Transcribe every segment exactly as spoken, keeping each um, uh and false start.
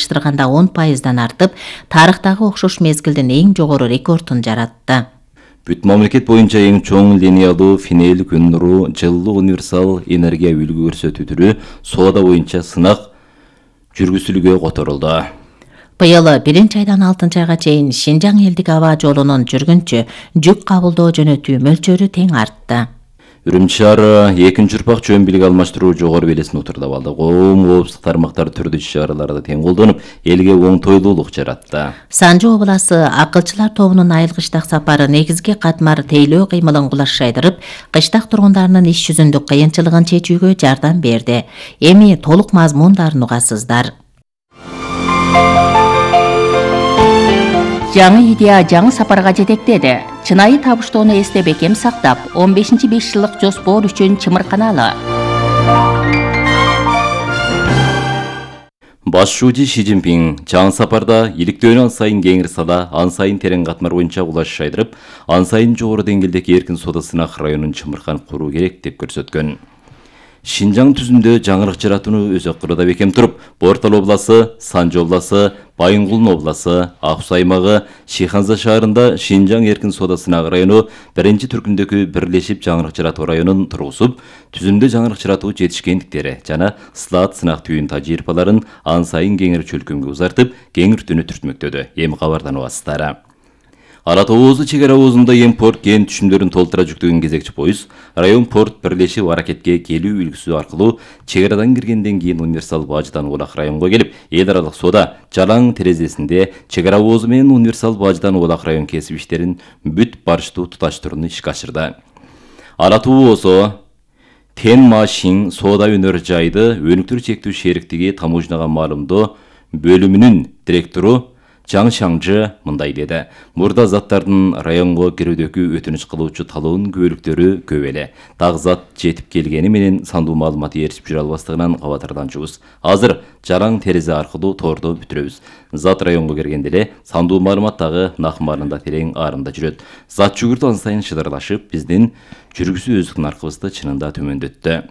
салыштырганда он пайыздан артып, тарыхтагы окшош мезгилдин эң жогору рекордун жаратты. Бүт мамлекет боюнча эң чоң линиялуу финел күн нуру жылуу универсал энергия үлгү көрсөтүү түрү соода боюнча сынак жүргүзүлүүгө которулду. Быйыл биринчи айдан алтынчы айга чейин Шинжаң элдик аба жолунун жүргүнчү жүк кабылдоо жөнөтүү мөлчөрү тең артты. Үрүмчү шаары экинчи урпак чөм билик алмаштыруу жогору белесин отурдап алды. Коом коопсуздук тармактар түрдүү иш-чараларда тең колдонуп, элге оңтойлуулук жаратты. Санжы обласы акылчылар тобунун айыл кыштак сапары негизги катмар тейлөө кыймылын кулашайдырып, кыштак тургундарынын иш жүзүндүк кыйынчылыгын чечүүгө жардам берди. Эми толук мазмундарын угасыздар. Жаңы идея жаңы сапарга жетектеди. Чынайы табыштоону эсте бекем сактап, он бешинчи беш жылдык жоспор үчүн чымырканалы. Башчы Ши Цзиньпин жаңы сапарда иликтөөнү ан сайын кеңирсада, ан сайын терең катмар боюнча кулаш шайдырып, ан сайын жогору деңгээлдеги эркин соода сынак районун чымыркан куруу керек деп көрсөткөн. Шинжаң түзүмдө жаңырык жаратууну өз акырда бекем туруп, Бортал обласы, Санжы обласы, Байынгулун обласы, Аксу аймагы, Шиханза шаарында Шинжаң эркин соода сынак району биринчи түркүндөгү бирлешип жаңырык жаратуу районун тургузуп, түзүмдө жаңырык жаратуу жетишкендиктери жана слат сынак түйүн тажрыйбаларын ан сайын кеңир чөлкөмгө узартып, кеңиртүүнү түртмөктөдү. Эми кабардан убасыздар. Ара Тоозу чек ара оозунда эм порт кен түшүмдөрүн толтура жүктөгөн кезекчи поезд район порт бирлешип аракетке келүү үлгүсү аркылуу чек арадан киргенден кийин универсал бажыдан Улак районго келип, эл аралык соода жалаң терезесинде чек ара оозу менен универсал бажыдан Улак район кесип иштерин бүт барыштуу туташтырууну ишке ашырды. Ара Тоозу Тен Машин соода өнөр жайды өнүктүрүү чектүү шериктиги таможняга маалымдоо бөлүмүнүн директору Жаң Шаңжы мындай деди. Мурда заттардын районго кирүүдөгү өтүнүч кылуучу талоонун көбөлүктөрү көп эле. Так зат жетип келгени менен сандуу маалыматы ээрчип жүрө албастыгынан кабатырданчубуз. Азыр жараң терезе аркылуу тордо бүтүрөбүз. Зат районго киргенде эле сандуу маалымат дагы накмарында терең арында жүрөт. Зат жүгүртү ан сайын шыдырлашып, биздин жүргүзүү өздүк наркыбызды чынында төмөндөттү.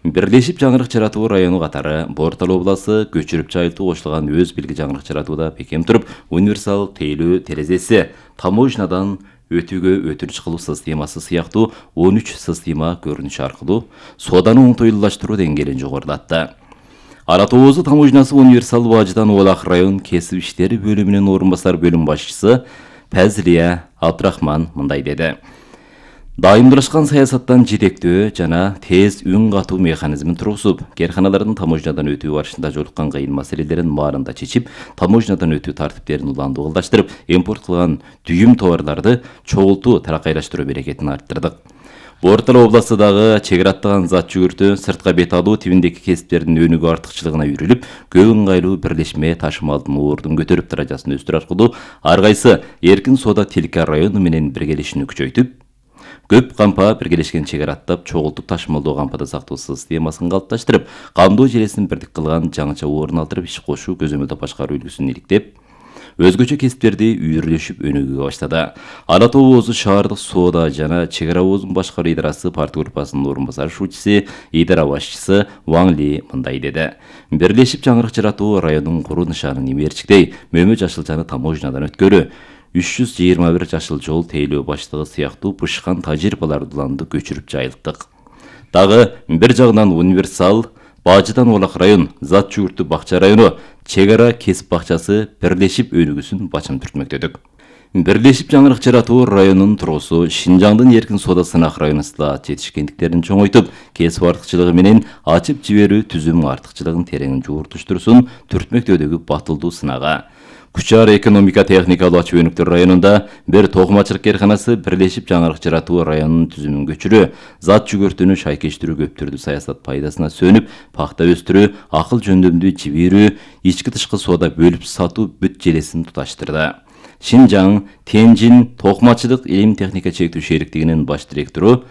Бирлешип жаңырык жаратуу району катары Бортал обласы көчүрүп жайылтуу кошулган өз билги жаңырык жаратууда бекем туруп, универсал тейлөө терезеси, таможнядан өтүүгө өтүнүч кылуу системасы сыяктуу он үч система көрүнүшү аркылуу сооданы оңтойлуулаштыруу деңгээлин жогорулатты. Ара Тоозу таможнясы универсал бажыдан Улак район кесип иштери бөлүмүнүн орун басар бөлүм башчысы Пазлия Абдрахман мындай деди. Дайымдалышкан саясаттан жетектөө жана тез үн катуу механизмин тургузуп, керканалардын таможнядан өтүү барышында жолуккан кыйын маселелерин баарында чечип, таможнядан өтүү тартиптерин уландуу кылдаштырып, импорт кылган дүйүм товарларды чогултуу таракайлаштыруу берекетин арттырдык. Бортал обласы дагы чек ара аттаган зат жүгүртүү, сыртка бет алуу тибиндеги кесиптердин өнүгүү артыкчылыгына үйрүлүп, көп ыңгайлуу бирлешме ташымалдын ордун көтөрүп даражасын өстүрүү аркылуу ар кайсы эркин соода тилка району менен биргелешүүнү күчөйтүп, көп кампа биргелешкен чек ара аттап, чогултуп ташымалдоо кампада сактоо системасын калыпташтырып, камдоо желесин бирдик кылган жаңыча орун алдырып иш кошуу көзөмөлдө башкаруу үлгүсүн иликтеп, өзгөчө кесиптерди үйрүлөшүп өнүгүүгө баштады. Ара Тоозу шаардык соода жана чек ара оозун башкаруу идарасы парт группасынын орун басар шуучусу, идара башчысы Ван Ли мындай деди. Бирлешип жаңырык жаратуу районун куруу нышанын имерчиктей Мөмө Жашылчаны таможнядан өткөрүү, үч жүз жыйырма бир жашыл жол тейлөө баштыгы сыяктуу бышкан тажрыйбаларды уланды көчүрүп жайылттык. Дагы бир жагынан универсал бажыдан Улак район, зат жүгүртүү бакча району, чек ара кесип бакчасы бирлешип өнүгүүсүн бачым түртмөктөдүк. Бирлешип жаңырык жаратуу районунун тургусу Шинжаңдын эркин соода сынак районусунда жетишкендиктерин чоңойтуп, кесип артыкчылыгы менен ачып жиберүү түзүм артыкчылыгын терең жууртуштуруусун түртмөктөөдөгү батылдуу сынага. Кучар экономика техникалуу ачуу өнүктөр районунда бир токумачылык керканасы бирлешип жаңырык жаратуу районунун түзүмүн көчүрүү, зат жүгүртүүнү шайкештирүү көптүрдүү саясат пайдасына сөнүп, пахта өстүрүү, акыл жөндөмдүү жиберүү, ички тышкы соода бөлүп сатуу бүт желесин туташтырды. Шинжаң Тенжин токумачылык илим техника чектүү шериктигинин баш директору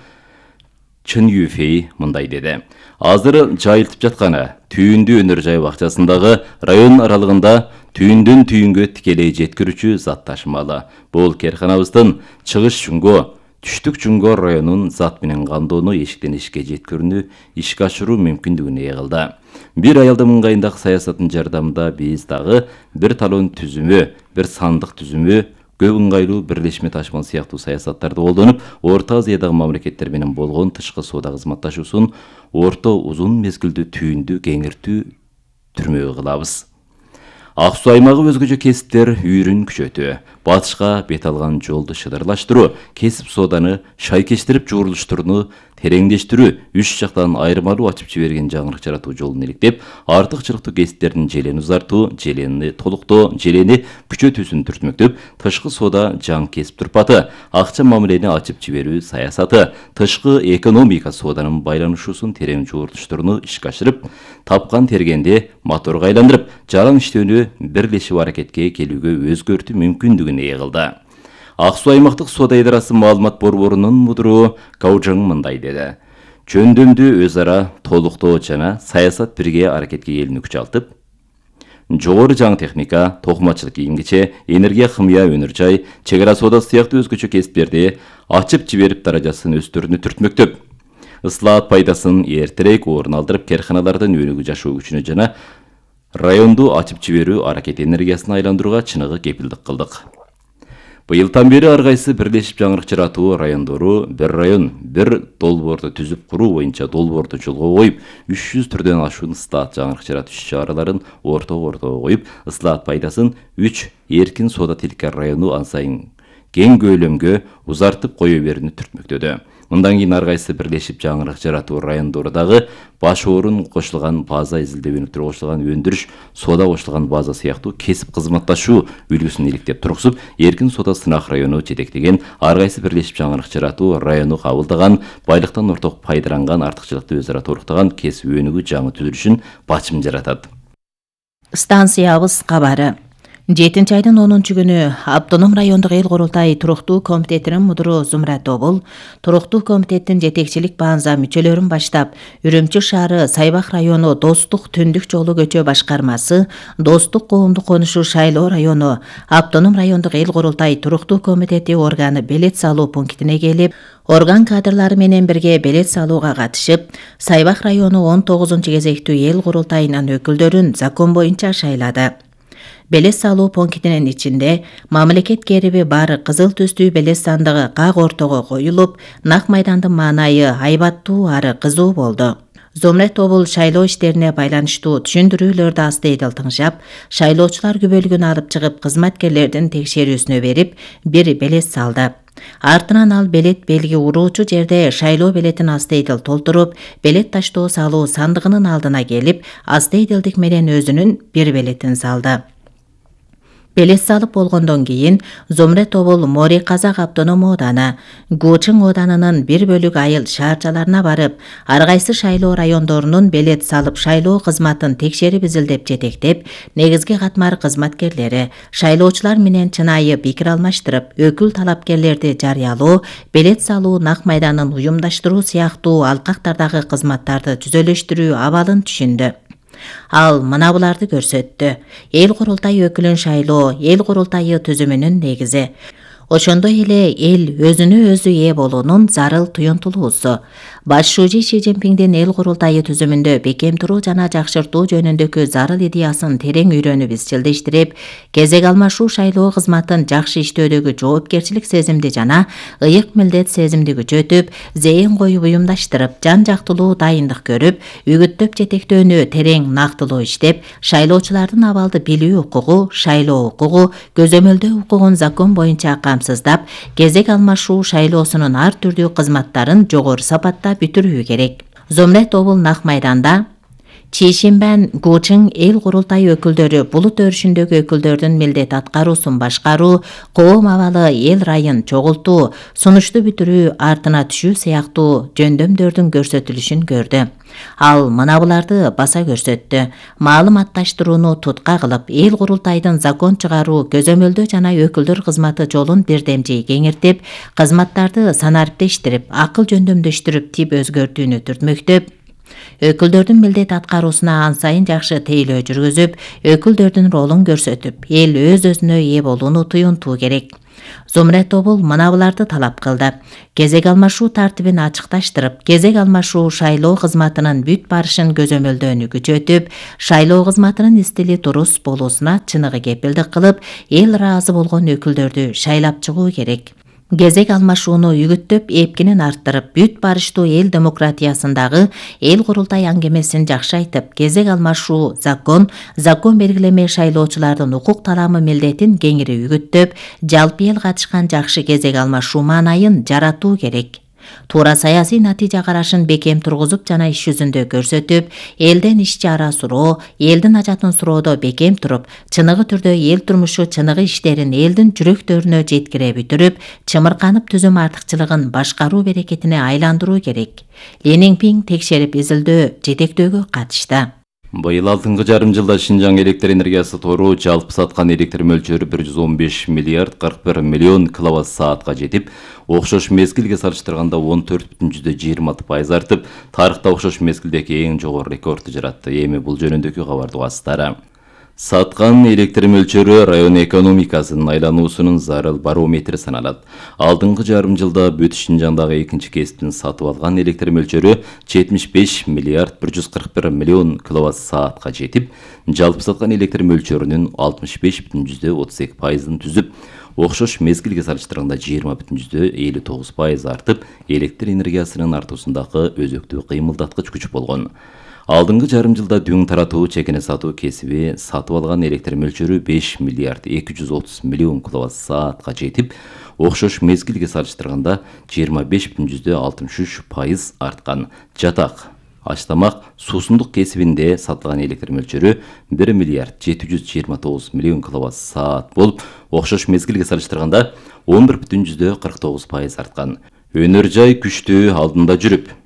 Чын Юфей мындай деди. Азыр жайылтып жатканы түйүндүү өнөр жай бакчасындагы район аралыгында түйүндөн түйүнгө тикелей жеткирүүчү зат ташымалы. Бул керканабыздын чыгыш жөнгө Түштүк Жуңгор районун зат менен кандоону эшиктен эшикке жеткирүүнү ишке ашыруу мүмкүндүгүн ээ кылды. Бир аялдын ыңгайындагы саясаттын жардамында биз дагы бир талон түзүмү, бир сандык түзүмү, көп ыңгайлуу бирлешме ташмал сыяктуу саясаттарды колдонуп, Орто Азиядагы мамлекеттер менен болгон тышкы соода кызматташуусун орто узун мезгилдүү түйүндү кеңиртүү түрмөбү кылабыз. Ак Суу аймагы өзгөчө кесиптер үйрүн күчөтүү, батышка бет алган жолду шыдырлаштыруу, кесип сооданы шайкештирип жуурулуштурууну тереңдештирүү, үч жактан айырмалуу ачып жиберген жаңырык жаратуу жолун иликтеп, артыкчылыктуу кесиптердин желени узартуу, желени толуктоо, желени күчөтүүсүн түртмөктөп, тышкы соода жаң кесип турпаты, акча мамилени ачып жиберүү саясаты, тышкы экономика сооданын байланышуусун терең жуурулуштурууну ишке ашырып, тапкан тергенди моторго айландырып, жаран иштөөнү бирлешип аракетке келүүгө өзгөртүү мүмкүндүгүн ээ кылды. Ак Суу аймактык соода идарасы маалымат борборунун мудуру Каужаң мындай деди. Жөндөмдүү өз ара толуктоо жана саясат бирге аракетке келүүнү күчалтып, жогору жаң техника, токумачылык кийим-кече, энергия химия өнөр жай, чек ара соодасы сыяктуу өзгөчө кесиптерди ачып жиберип даражасын өстөрүүнү түртмөктөп, ыслаат пайдасын эртерээк орун алдырып, керканалардын өнүгүү жашоо күчүнө жана районду ачып жиберүү аракет энергиясына айландырууга чыныгы кепилдик кылдык. Быйылдан бери ар кайсы бирлешип жаңырык жаратуу райондору бир район, бир долбоорду түзүп куруу боюнча долбоорду жолго коюп, үч жүз түрдөн ашуун ыстаат жаңырык жаратуу иш-чараларын ортого-ортого коюп, ыстаат пайдасын үч эркин соода тилкер району ан сайын кең көлөмгө узартып кое берүүнү түртмөктөдү. Мындан кийин ар кайсы бирлешип жаңырык жаратуу райондору дагы баш орун кошулган база, изилдөө өнүктүрүү кошулган өндүрүш, соода кошулган база сыяктуу кесип кызматташуу үлгүсүн иликтеп тургузуп, эркин соода сынак району жетектеген ар кайсы бирлешип жаңырык жаратуу району кабылдаган, байлыктан орток пайдаланган, артыкчылыкты өз ара толуктаган кесип өнүгүү жаңы түзүлүшүн бачым жаратат. Станциябыз кабары. жетинчи айдын онунчу күнү Автоном райондук эл курултай туруктуу комитетинин мудуру Зумрат Тобул, туруктуу комитеттин жетекчилик баанза мүчөлөрүн баштап, Үрүмчү шаары Сайбак району Достук түндүк жолу көчө башкармасы, Достук коомдук конушу Шайлоо району, Автоном райондук эл курултай туруктуу комитети органы белет салуу пунктине келип, орган кадрлары менен бирге белет салууга катышып, Сайбак району он тогузунчу кезектүү эл курултайынын өкүлдөрүн закон боюнча шайлады. Белес салуу пунктинин ичинде мамлекет кериби бар кызыл түстүү белес сандыгы как ортого коюлуп, нак майдандын маанайы айбаттуу ары кызуу болду. Зумрат Тобул шайлоо иштерине байланыштуу түшүндүрүүлөрдү астыйдыл тыңшап, шайлоочулар күбөлүгүн алып чыгып кызматкерлердин текшерүүсүнө берип, бир белес салды. Артынан ал белет белги уруучу жерде шайлоо белетин астыйдыл толтуруп, белет таштоо салуу сандыгынын алдына келип, астыйдылдык менен өзүнүн бир белетин салды. Белес салып болгондон кийин Зумрат Тобул Мори Казак автоном ооданы, Гучың ооданынын бир бөлүк айыл шаарчаларына барып, ар кайсы шайлоо райондорунун белет салып шайлоо кызматын текшерип изилдеп жетектеп, негизги катмар кызматкерлери, шайлоочулар менен чынайы пикир алмаштырып, өкүл талапкерлерди жарыялоо, белет салуу, нак майданын уюмдаштыруу сыяктуу алкактардагы кызматтарды түзөлөштүрүү абалын түшүндү. Ал мына буларды көрсөттү. Эл курултай өкүлүн шайлоо эл курултайы түзүмүнүн негизи. Ошондой эле эл өзүнө өзү ээ болуунун зарыл туюнтулуусу. Баш шүүжи Ши Цзиньпиңдин эл курултайы түзүмүндө бекем туруу жана жакшыртуу жөнүндөгү зарыл идеясын терең үйрөнүп изчилдештирип, кезек алмашуу шайлоо кызматын жакшы иштөөдөгү жоопкерчилик сезимди жана ыйык милдет сезимди күчөтүп, зээн коюп уюмдаштырып, жан жактылуу дайындык көрүп, үгүттөп жетектөөнү терең нактылуу иштеп, шайлоочулардын абалды билүү укугу, шайлоо укугу, көзөмөлдөө укугун закон боюнча камсыздап, кезек алмашуу шайлоосунун ар түрдүү кызматтарын жогору сапатта бүтүрүү керек. Зумрат Тобул нак майданда Чишинбан Гучың эл курултай өкүлдөрү булут өрүшүндөгү өкүлдөрдүн милдет аткаруусун башкаруу, коом абалы эл райын чогултуу, сунушту бүтүрүү, артына түшүү сыяктуу жөндөмдөрдүн көрсөтүлүшүн көрдү. Ал мына буларды баса көрсөттү. Маалыматташтырууну тутка кылып, эл курултайдын закон чыгаруу, көзөмөлдөө жана өкүлдөр кызматы жолун бирдемжей кеңиртип, кызматтарды санариптештирип, акыл жөндөмдөштүрүп, тип өзгөртүүнү түртмөктөп, өкүлдөрдүн милдет аткаруусуна ан сайын жакшы тейлөө жүргүзүп, өкүлдөрдүн ролун көрсөтүп, эл өз өзүнө ээ болууну туюнтуу керек. Зумрет тобул мына буларды талап кылды. Кезек алмашуу тартибин ачыкташтырып, кезек алмашуу шайлоо кызматынын бүт барышын көзөмөлдөөнү күчөтүп, шайлоо кызматынын истили туруз болуусуна чыныгы кепилдик кылып, эл ыраазы болгон өкүлдөрдү шайлап чыгуу керек. Кезек алмашууну үгүттөп, эпкинин арттырып, бүт барыштуу эл демократиясындагы эл курултай аңгемесин жакшы айтып, кезек алмашуу закон, закон белгилеме шайлоочулардын укук таламы милдетин кеңири үгүттөп, жалпы эл катышкан жакшы кезек алмашуу маанайын жаратуу керек. Туура саясий натыйжа карашын бекем тургузуп жана иш жүзүндө көрсөтүп, элден ишчи ара суроо, элдин ажатын суроодо бекем туруп, чыныгы түрдө эл турмушу чыныгы иштерин элдин жүрөктөрүнө жеткире бүтүрүп, чымырканып түзүм артыкчылыгын башкаруу берекетине айландыруу керек. Ли Ниңпиң текшерип изилдөө, жетектөөгө катышты. Быйыл алтынчы жарым жылда Шинжаң электр энергиясы тору жалпы саткан электр мөлчөрү бир жүз он беш миллиард кырк бир миллион киловатт саатка жетип, окшош мезгилге салыштырганда он төрт бүтүн жүздө жыйырма алты пайыз артып, тарыхта окшош мезгилдеги эң жогору рекордду жаратты. Эми бул жөнүндөгү кабарды угасыздар. Саткан электр мөлчөрү район экономикасынын айлануусунун зарыл барометри саналат. Алдыңкы жарым жылда бүт Шинжаңдагы экинчи кесиптин сатып алган электр мөлчөрү жетимиш беш миллиард бир жүз кырк бир миллион киловатт саатка жетип, жалпы саткан электр мөлчөрүнүн алтымыш беш бүтүн жүздө отуз эки пайызын түзүп, окшош мезгилге салыштырганда жыйырма бүтүн жүздө элүү тогуз пайыз артып, электр энергиясынын артуусундагы өзөктүү кыймылдаткыч күч болгон. Алдыңкы жарым жылда дүң таратуу, чекене сатуу кесиби сатып алган электр мөлчөрү беш миллиард эки жүз отуз миллион киловатт саатка жетип, окшош мезгилге салыштырганда жыйырма беш бүтүн жүздө алтымыш үч пайыз арткан. Жатак, аштамак, суусундук кесибинде сатылган электр мөлчөрү бир миллиард жети жүз жыйырма тогуз миллион киловатт саат болуп, окшош мезгилге салыштырганда он бир бүтүн жүздө кырк тогуз пайыз арткан. Өнөр жай күчтүү алдында жүрүп,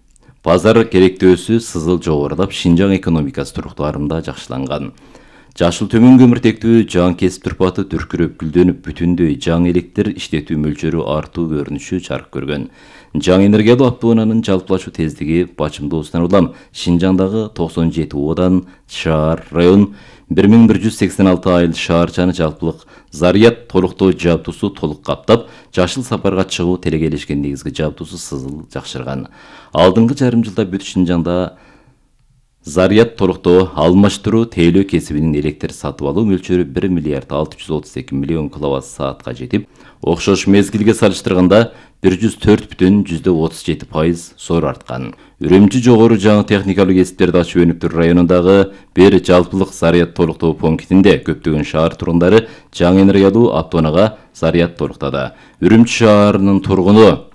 базар керектөөсү сызыл жогорулап, Шинжаң экономикасы туруктуарында жакшыланган. Жашыл төмөн көмүртектүү жаңы кесип турпаты түркүрөп гүлдөнүп, бүтүндөй жаңы электр иштетүү мөлчөрү артуу көрүнүшү жарык көргөн. Жаңы энергиялуу автоунаанын жалпылашуу тездиги бачымдоосунан улам Шинжаңдагы токсон жети оодан шаар, район, бир миң бир жүз сексен алты айыл шаарчаны жалпылык заряд толуктоо жабдуусу толук каптап, жашыл сапарга чыгуу телегелешкен негизги жабдуусу сызыл жакшырган. Алдыңкы жарым жылда бүт Шинжаңда заряд толуктоо, алмаштыруу, тейлөө кесибинин электр сатып алуу мөлчөрү бир миллиард алты жүз отуз эки миллион киловатт саатка жетип, окшош мезгилге салыштырганда бир жүз төрт бүтүн жүздө отуз жети пайыз зор арткан. Үрүмчү жогору жаңы техникалык кесиптерди ачуу өнүктүрүү районундагы бир жалпылык заряд толуктоо пунктинде көптөгөн шаар тургундары жаңы энергиялуу автоунаага заряд толуктады. Үрүмчү шаарынын тургуну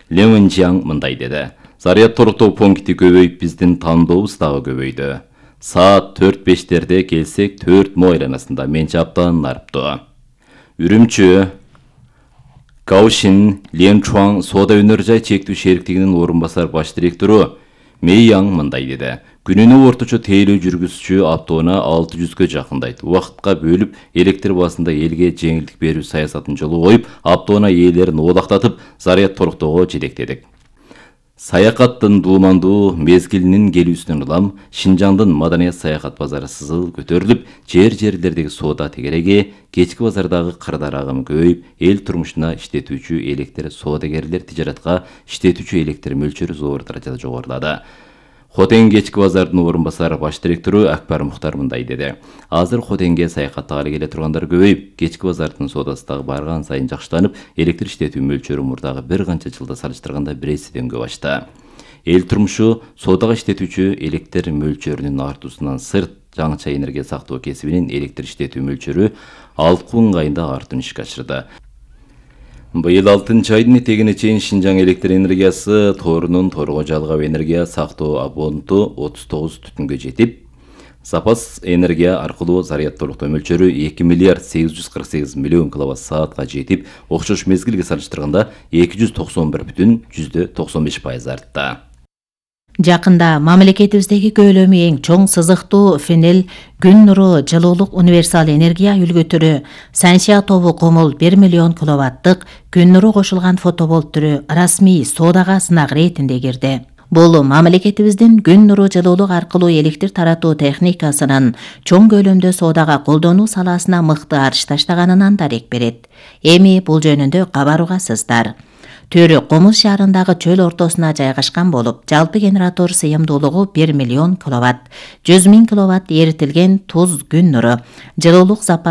Леминжаң мындай деди: заряд толуктоо пункти көбөйүп, биздин тандообуз дагы көбөйдү. Саат төрт бештерде келсек, төрт мо айланасында менчи абдан нарыптуу. Үрүмчү Гаушин Ленчуан соода өнөр жай чектүү шериктигинин орун басар баш директору Мэйяң мындай деди: күнүнө орточо тейлөө жүргүзүүчү автоунаа алты жүзгө жакындайт. Убакытка бөлүп, электр баасында элге жеңилдик берүү саясатын жолго коюп, автоунаа ээлерин оолактатып, заряд толуктоого жетектедик. Саякаттын дуумандуу мезгилинин келүүсүнөн улам Шинжаңдын маданият саякат базары сызыл көтөрүлүп, жер-жерлердеги соода тегереги, кечки базардагы кырдар агымы көбөйүп, эл турмушуна иштетүүчү электр соодагерлер тижаратка иштетүүчү электр мөлчөрү зор даражада жогорулады. Хотен кечки базардын орун басар баш директору Акбар Мухтар мындай деди: азыр Хотенге саякаттагалы келе тургандар көбөйүп, кечки базардын соодасы дагы барган сайын жакшыланып, электр иштетүү мөлчөрү мурдагы бир канча жылда салыштырганда бир эседен көп ашты. Эл турмушу соодага иштетүүчү электр мөлчөрүнүн артуусунан сырт, жаңыча энергия сактоо кесибинин электр иштетүү мөлчөрү алкуу ыңгайында артын ишке ашырды. Быйыл алтынчы айдын этегине чейин Шинжаң электр энергиясы торунун торго жалгап энергия сактоо абонту отуз тогуз түтүнгө жетип, запас энергия аркылуу заряд толуктоо мөлчөрү эки миллиард сегиз жүз кырк сегиз миллион киловатт саатка жетип, окшош мезгилге салыштырганда эки жүз токсон бир бүтүн жүздө токсон беш пайыз артты. Жакында мамлекетибиздеги көлөмү эң чоң сызыктуу Фенел күн нуру жылуулук универсал энергия үлгүтүрү Саншия тобу комул бир миллион киловаттык күн нуру кошулган фотоболт түрү расмий соодага сынак иретинде кирди. Бул мамлекетибиздин күн нуру жылуулук аркылуу электр таратуу техникасынын чоң көлөмдө соодага колдонуу саласына мыкты арыш таштаганынан дарек берет. Эми бул жөнүндө кабаргасыздар. Төрү Комуз шаарындагы чөл ортосуна жайгашкан болуп, жалпы генератор сыйымдуулугу бир миллион киловатт, жүз миң киловатт эритилген туз күн нуру, жылуулук запасы